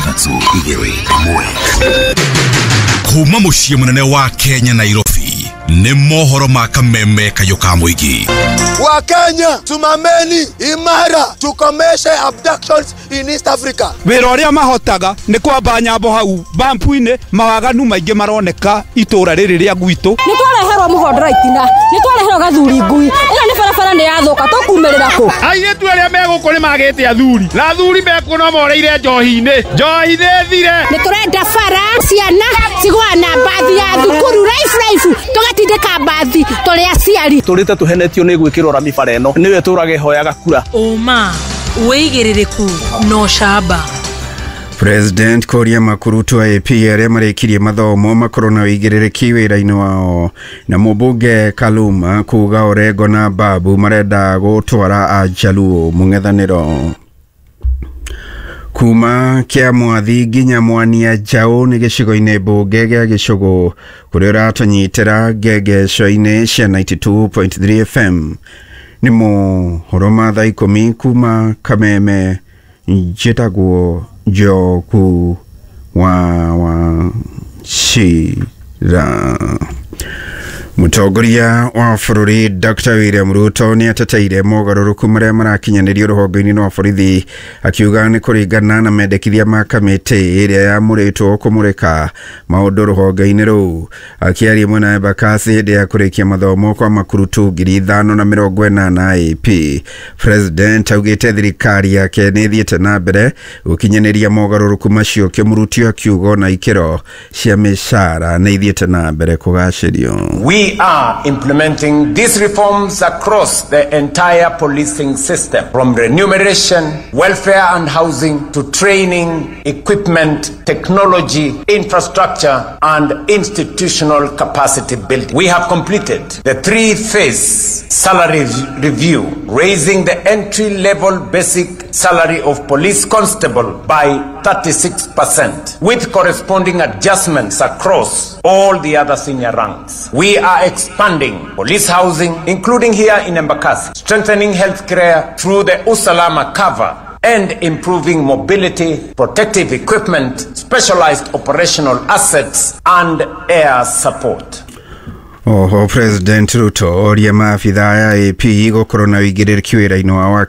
3 2 1. Kuma mũciĩ mũnene wa Kenya Nairobi nĩ mohoro ma kameme kayũ ka mũingĩ. Wa Kenya, tumameni imara tukomeshe abductions in East Africa. Wĩra ũrĩa mahotaga nĩ kwamba nyambo hau bampu-inĩ, mawaganu maingĩ maroneka itũra rĩrĩ rĩa gwitũ. Nĩ twareherwo mũhondoro itina, nĩ twareherwo gathuri ngui, ĩno nĩ barabara nĩ yathũka, tũkumĩrĩra kũ? Airĩtu arĩa me gũkũ nĩ magĩte athuri na athuri mekuo no moreire njohi-inĩ, njohi nĩ thire. Nĩ tũrenda bara, ciana cigũa na mbathi ya thukuru raifu raifu, tũgatindĩka mbathi tũrĩ aciari. Tũrĩte tũhenetio nĩ gwĩkĩrwo rami bara ĩno, nĩwe tũrage hoyaga kura. Ũma, wĩigĩrĩrĩku na ũcamba. President kũria makurutu a AP arĩa marĩkirie mathomo makorwo na ũigĩrĩrĩki wĩra-inĩ wao, na mũmbunge Kaluma kuga Orengo na Babu marenda gũtwara Ajaluo mũng'ethanĩro. Kuma kĩa mwathi nginya mwania njaũ nĩ gĩcigo-inĩ mbunge gĩa Gĩcũgũ kũrĩa ũratũnyitĩra ngengeco-inĩ cia 92.3 FM. Nĩ mohoro ma thaa 10 kuma Kameme. Njĩtagwo Njoku wa Wachira. Mũtongoria wa bũrũri Dr. William Ruto nĩ ateteire mogarũrũku marĩa marakinyanĩrio rũhonge-inĩ rwa borithi, akiuga nĩ kũringana na mendekithia ma kamĩtĩ ĩrĩa yamũrĩtwo kũmũrĩka maũndũ rũhonge-inĩ rũu. Akĩaria mwena wa Embakasi hĩndĩ ya kũrĩkia mathomo kwa makurutu 5,080 AP, President augĩte thirikari yake nĩ ĩthiĩte na mbere gũkinyanĩria mogarũrũku macio, kĩmũrutio akiuga ona ikĩro cia mĩcara nĩ ithiĩte na mbere kũgacĩrio. We are implementing these reforms across the entire policing system, from remuneration, welfare and housing to training, equipment, technology, infrastructure, and institutional capacity building. We have completed the 3-phase salary review, raising the entry-level basic salary of police constable by 36%, with corresponding adjustments across all the other senior ranks. We are expanding police housing, including here in Embakasi, strengthening healthcare through the Usalama cover, and improving mobility, protective equipment, specialized operational assets, and air support. Oho, President Ruto oria maabithaa ya AP gũkorwo na ũigĩrĩrĩki wĩra-inĩ wao wa